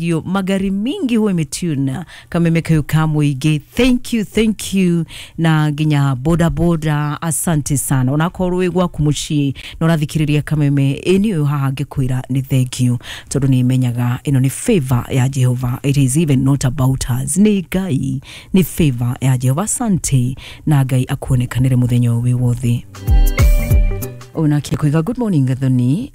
Yo magari mingi huwa imetuna kameme kayo kamwige. Thank you, thank you, na nginya boda boda, asante sana. Onakorwo wĩ gwaku mũciĩ na ũrathikĩrĩria kameme ĩni ũyũ haha ngĩkwĩra nĩ thank you, tondũ nĩ menyaga ĩno nĩ favor ya Jehova. It is even not about us, nĩ Ngai, nĩ favor ya Jehova. Asante, na Ngai akuonekanĩre mũthenya ũyũ wĩ wothe. Onake kuiga good morning Gathoni,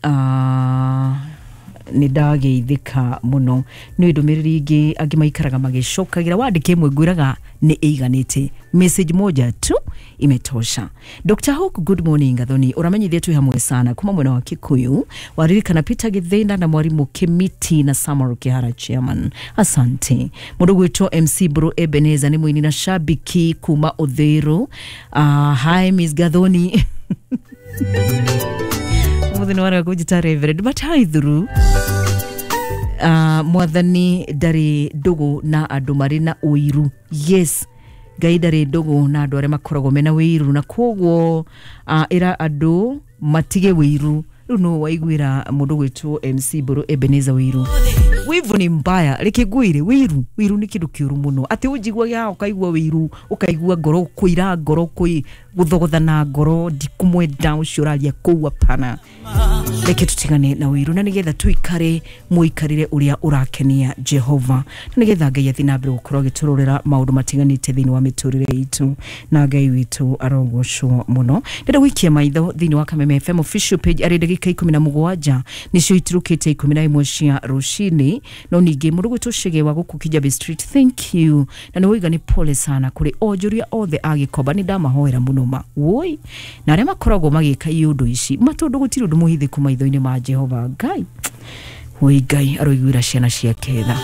nĩ ndageithĩka mũno nĩ ndũmĩrĩri ingĩ angĩ maikaraga magĩcokagĩra. Wandĩke ĩmwe ngwĩraga nĩ ĩiganĩte, message moja tu imetosha. Dr. Hook, good morning Gathoni, ũramenyithia twĩ hamwe sana kuma mwena wa Kikuyu. Waririkana Peter Githĩna na mwarimũ Kimiti na Samuel Kihara chairman, asante. Mũndũ gwĩtwo MC Bro Ebeneza nĩ mũini na shabiki kuma Uthiru. Hi Miss Gathoni, mũthĩ nĩ warega kũnjĩta reverend, but hi through. Mwathani ndarĩ ndũgũ na andũ marĩ na ũiru. Yes, Ngai ndarĩ ndũgũ na andũ arĩa makoragwo mena wĩiru, na koguo ĩra andũ matige wĩiru. Rĩu no waiguĩra mũndũ gwĩtwo MC Mbũrũ Ebeneza, wĩiru, wivu ni mbaya. Reke ngwĩre, wĩiru, wĩiru nĩ kĩndũ kĩũru mũno, atĩ ũnjiguage haha ũkaigua wĩiru, ũkaigua ngoro kũira, ngoro kũi gũthogothana, ngoro ndikumwenda ũcio ũraria kũu. Hapana, reke tutigane na wĩiru, na nĩgetha tuikare mũikarĩre ũrĩa ũrakenia Jehova, na nĩgetha Ngai athiĩ na mbere gũkorwo agĩtũrorera maũndũ matiganĩte thĩinĩ wa mĩtũrĩre itũ, na Ngai witũ arogocwo mũno. Ndĩrenda gũikia maitho thĩinĩ wa Kameme FM official page arĩ ndagĩka 17 nĩcio itirũkĩte 11 cia rũcinĩ. No ningĩ mũndũ gwĩtwo Chege wa gũkũ Kijabe Street, thank you, na nĩ woiga nĩ pole sana kũrĩ onjoria othe a Gĩkomba. Nĩ ndamahoera mũno ma woi, na arĩa makoragwo magĩka iũndũ ici ma, tondũ gũtirĩ ũndũ mũhithĩku maitho-inĩ ma Jehova Ngai. Woi, Ngai aroiguĩra ciana ciake tha.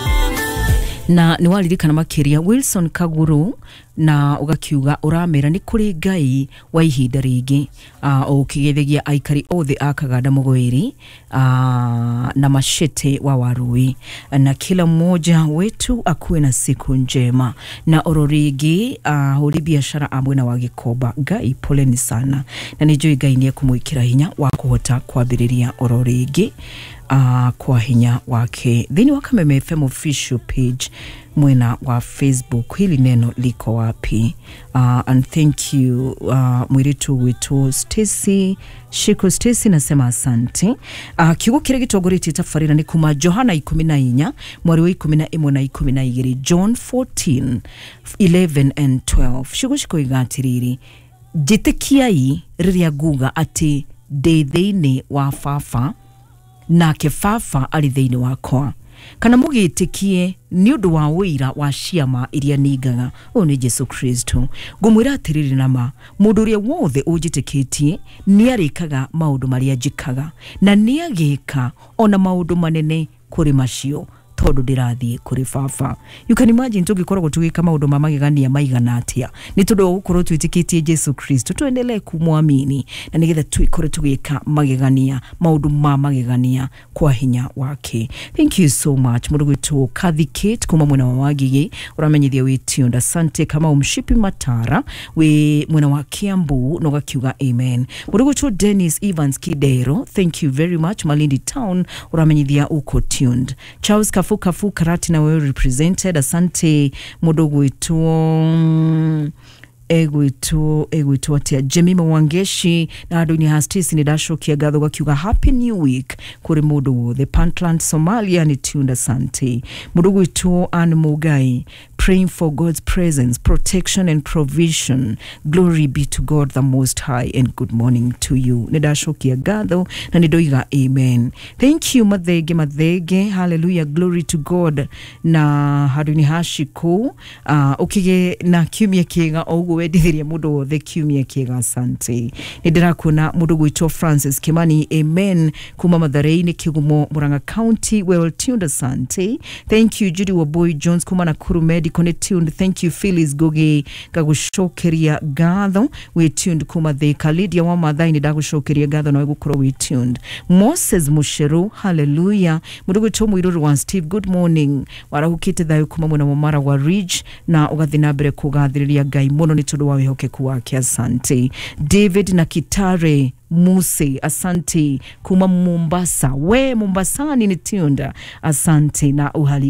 Na nĩ waririkana makĩria Wilson Kaguru, na ũgakiuga ũramera nĩ kũrĩ Ngai wa ihinda rĩngĩ, ũkĩgeithagia aikari othe a Kaganda Mũgwĩri na Mashete wa Warui, na kila mmoja wetu akuwe na siku njema. Na oro rĩngĩ ahũri biashara a mwena wa Gĩkomba, Ngai poleni sana, na nĩ njũĩ Ngai nĩ ekũmwĩkĩra hinya wa kũhota kwambĩrĩria oro rĩngĩ kwa hinya wake. Thĩinĩ wa Kameme FM official page mwena wa Facebook, hili neno liko wapi? And thank you, mwiritu witũ Stacy Shiko Stacy, nasema asante. Kiugo kĩrĩa gĩtongoretie tabarĩra nĩ kuma Johana 14 mweri wa 11 na 12, John 14 11 and 12. Ciugo cikoiga atĩrĩrĩ, njĩtĩkiai rĩrĩa nguga atĩ ndĩ thĩinĩ wa Baba nake Baba arĩ thĩinĩ wakwa, kana mũgĩtĩkie nĩ ũndũ wa ũira wa ciama iria ningaga. Ũyũ nĩ Jesu Kristo. Ngũmwĩra atĩrĩrĩ nama, mũndũ ũrĩa wothe ũnjĩtĩkĩtie nĩ arĩkaga maũndũ marĩa njĩkaga, na nĩ agĩka ona maũndũ manene kũrĩ macio, tondũ ndĩrathiĩ kũrĩ Baba. You can imagine tũngĩkoragwo tũgĩka maũndũ ma magegania maigana atĩa nĩ tondũ wa gũkorwo twĩtĩkĩtie Jesu Kristo. Tuendelee kumwamini na nĩgetha tũikore tũgĩka magegania, maũndũ ma magegania kwa hinya wake. Thank you so much. Mũndũ gwĩtwo Kathy Kate kuma mwena wa Wagigi ũramenyithia wĩ tuned, asante. Kama umshipi Matara wĩ mwena wa Kiambu na ũgakiuga amen. Mũndũ gwĩtwo Dennis Evans Kidero, thank you very much, Malindi Town, ũramenyithia uko tuned. Charles Kafu Kafu Karati na wewe represented, asante. Mũndũ gwĩtwo egwĩtwo atia, Jemima Wangeshi na andũ-inĩ ha Stacy, nĩ ndacokia ngatho, gakiuga happy new week kũrĩ mũndũ wothe. Puntland Somalia nĩ tuned, asante. Mũndũ gwĩtwo Ann Mugai, praying for God's presence, protection and provision. Glory be to God the Most High and good morning to you. Nĩ ndacokia ngatho na nĩ ndoiga amen. Thank you Mathenge Mathenge, hallelujah, glory to God. Na handũ-inĩ ha Shikũ, ũkĩgĩe na kiumia kĩega, o ũguo wendithĩria mũndũ wothe kiumia kĩega, asante. Nĩ ndĩrakuona mũndũ gwĩtwo Francis Kimani, amen, kuma Mathare-inĩ Kĩgumo, Murang'a County, well tuned, asante. Thank you Judy Waboy Jones kuma Nakuru Medical. Medical nĩ tuned. Thank you Phyllis Ngugi, ngagũcokeria ngatho wĩ tuned kuma Thika. Lydia wa Mathai nĩ ndagũcokeria ngatho nawe gũkorwo wĩ tuned. Moses Musheru, hallelujah. Mũndũ gwĩtwo Mũirũrũ wa Steve, good morning, warahukĩte thayũ kuma mwena wa Maragwa Ridge na ũgathiĩ na mbere kũgathĩrĩria Ngai mũno nĩ tondũ wa wĩhokeku wake, asante. David na Kitare Muse, asante kuma Mombasa, we Mombasani ni tuned, asante na uhali.